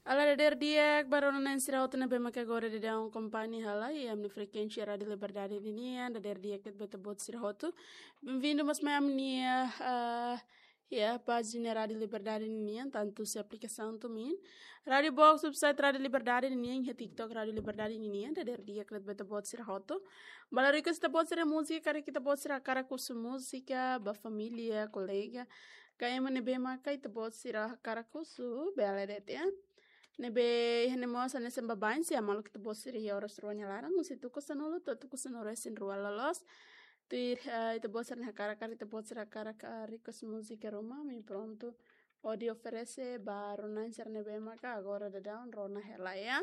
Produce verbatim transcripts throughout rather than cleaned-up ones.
Olá, dadeer di'ak ba rona-na'in sira hotu ne'ebé maka agora daudaun akompaña hela iha ami-nia frekuénsia Rádiu Liberdade ninian, dadeer di'ak ba ita-boot sira hotu. Bem-vindo mais mai ami-nia, ah, iha pájina Rádiu Liberdade ninian, tantu husi aplikasaun tumin. Rádiu Box, website Rádiu Liberdade ninian, iha TikTok Rádiu Liberdade ninian, dadeer di'ak ba ita-boot sira hotu. Ba la request ita-boot sira múzika, karik ita-boot sira hakarak husu múzika ba família, kolega, ka ema ne'ebé maka ita-boot sira hakarak husu, bele de'it, ya. Ne'ebé iha ne'e mós hanesan baibain, se maluk ita-boot sira iha oras rua nia laran, husi tuku sanulu to'o tuku sanulu-resin-rua loloos. Tuir, eh, ita-boot sira-nia hakarak, karik ita-boot sira hakarak, eh, request múzika ruma, ami prontu hodi oferese ba rona-na'in sira ne'ebé maka agora daudaun rona hela, ya.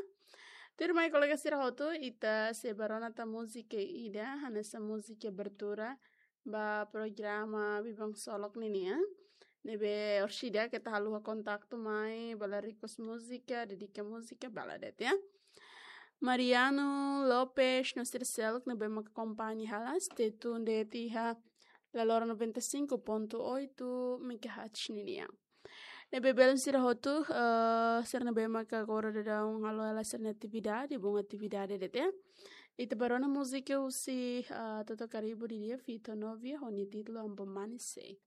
Tuirmai kolega sira hotu, ita sei ba rona tan múzika ida, hanesan múzika abertura ba programa Biban Ksolok ninian. Ne'ebé orsida keta haluha kontaktu mai, ba la request múzika, dedika múzika, bele de'it, ya. Mariano Lopes, no sira seluk ne'ebé maka akompaña hela, stay tuned de'it iha Laloran noventa e cinco ponto oito megahertz ninian. Ne'ebé belun sira hotu, eh, sira ne'ebé maka agora daudaun halo hela sira-nia atividade, bom atividade de'it, ya. Ita ba rona múzika husi, eh, Toto Karibu ida-ne'e, Vito Novia, ho nia títulu Ambo Mane Sei.